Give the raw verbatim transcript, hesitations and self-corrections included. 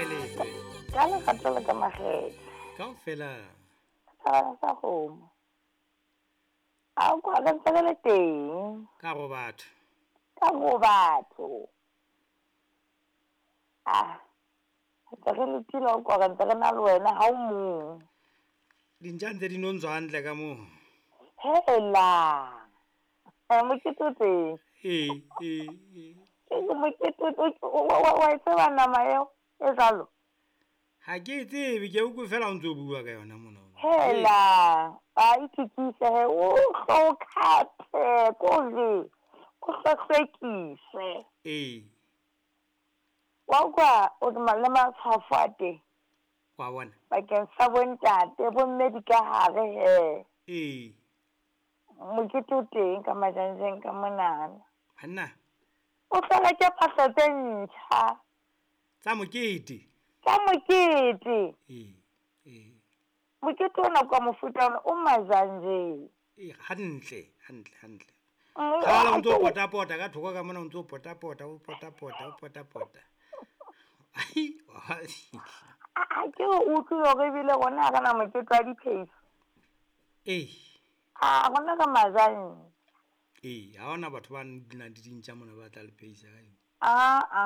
Kae letswe? Ka lerato le ka makgethe. Kaofela. Thabana sa kgomo. A o kwa re ntse re le teng. Ka go batho. Ka go batho. Ah. Ntse re letile o kwa re ntse re na le wena ha o mong. Dintja ntse di no ntswa hantle ka moo. Hela. Eh mokete o teng. Ee, ee, ee. Ke mokete o wa e tseba nama eo e jwalo? Ha ke e tsebe, ke utlwe fela o ntso bua ka yona mona. Hela, a itukise he, o hlo khathe kore o hlwehlwekise. Ee. Wa utlwa o le matshwafo a teng. Wa bona. Bakeng sa bontate, bomme di ka hare he. Ee. Mokete o teng ka majanjeng ka monana. Hanna. O tla reka phahlo tse ntjha. Tsa mokete. Tsa mokete. Ee, ee. Mokete ona kwa mofuta ona o majanjeng. Ee, hantle, hantle, hantle. Kgala o ntso pota-pota ka thoko ka mona, o ntso pota-pota, o pota-pota, o pota-pota. Ai, wa fihla. A ke o utlwile hore ebile rona ha re na mokete wa dipheiso. Ee. A rona re majang. Ee, ha hona batho ba nang le dintja mona ba tla le pheisa ka eng. Ah ah.